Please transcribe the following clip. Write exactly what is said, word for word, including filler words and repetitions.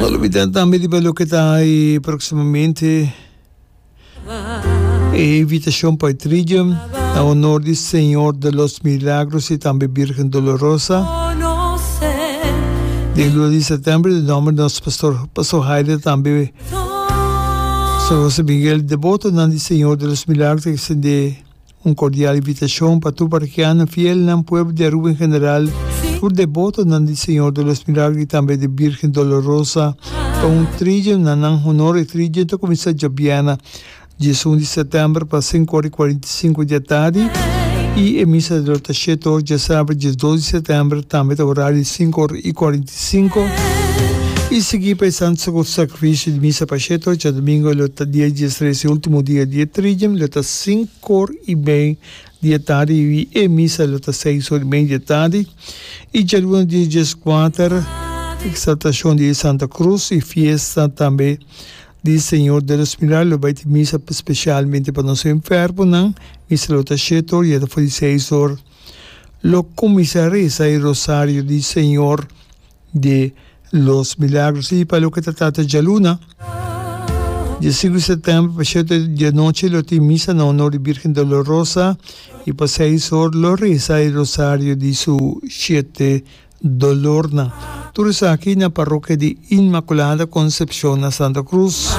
No lubida tambe di loke ta ey proximamente e invitacion pa Triduum na honor di Señor de los Milagros y tambe Virgen Dolorosa. Di luna di september, na nomber di nos pastor, Pastor Haile, tambe Pastor José Miguel, deboto di Señor de los Milagros, ta extende un cordial invitacion pa tur parokiano fiel na pueblo di Aruba en general, tur deboto di Señor de los Milagros y tambe di Virgen Dolorosa, pa un triduum na nan honor. E triduum ta cuminsa diabierna, diesun di september, pa cinco or y cuarenta y cinco di atardi y e misa lo ta shete or. Diasabra, diesdos di september, tambe ta horario di cinco or y cuarenta y cinco y sigui pa Santo Sacrificio di misa pa shete or. Diadomingo lo ta dia diestres, ultimo dia di triduum, lo ta cinco or y mey di atardi y e misa lo ta seis or y mey di atardi. Y dialuna, dia diescuater, exaltacion di Santa Cruz y fiesta tambe di Señor de los Milagros, bay tin misa specialmente pa nos enfermonan. Misa lo ta shete or y for di seis or lo cuminsa resa e rosario di Señor de los Milagros. Y pa loke ta trata dialuna, dia cinco di september, pa shete di anochi, lo tin misa na honor di Virgen Dolorosa y pa seis or lo resa e rosario di su shete dolornan. Tur esaki na parokia di Inmaculada Concepcion na Santa Cruz.